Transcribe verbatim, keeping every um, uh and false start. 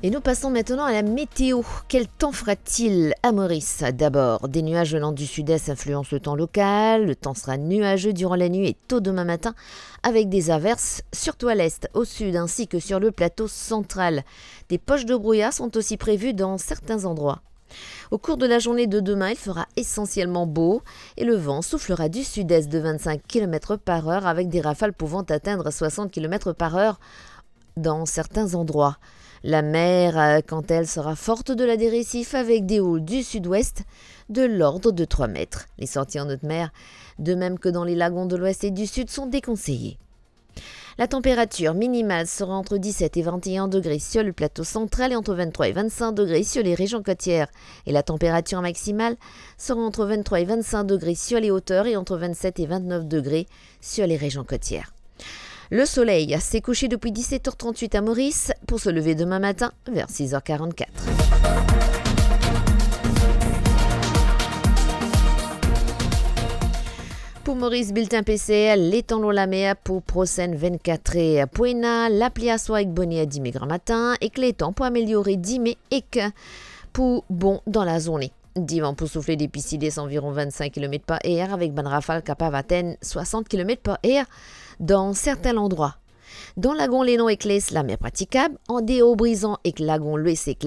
Et nous passons maintenant à la météo. Quel temps fera-t-il à Maurice ? D'abord, des nuages venant du sud-est influencent le temps local. Le temps sera nuageux durant la nuit et tôt demain matin, avec des averses, surtout à l'est, au sud, ainsi que sur le plateau central. Des poches de brouillard sont aussi prévues dans certains endroits. Au cours de la journée de demain, il fera essentiellement beau et le vent soufflera du sud-est de vingt-cinq kilomètres par heure, avec des rafales pouvant atteindre soixante kilomètres par heure dans certains endroits. La mer, euh, quant à elle, sera forte au-delà des récifs, avec des houles du sud-ouest de l'ordre de trois mètres. Les sorties en haute mer, de même que dans les lagons de l'ouest et du sud, sont déconseillées. La température minimale sera entre dix-sept et vingt et un degrés sur le plateau central et entre vingt-trois et vingt-cinq degrés sur les régions côtières. Et la température maximale sera entre vingt-trois et vingt-cinq degrés sur les hauteurs et entre vingt-sept et vingt-neuf degrés sur les régions côtières. Le soleil s'est couché depuis dix-sept heures trente-huit à Maurice pour se lever demain matin vers six heures quarante-quatre. Pou Moris, biltin P C R, letan lor lamer pou prosenn vennkat er. Pou ena lapli aswar ek boner dime gramatin, ek letan pou ameliore dime ek pou bon dan lazourne. Divan pou soufle depi sid-est anviron vennsenk kilomet par er, avek bann rafal kapav atenn swasant kilomet par er dan sertin landrwa. Dan lagon Lenon ek Les, lamer pratikab, andeor Brizan ek lagon Lwes ek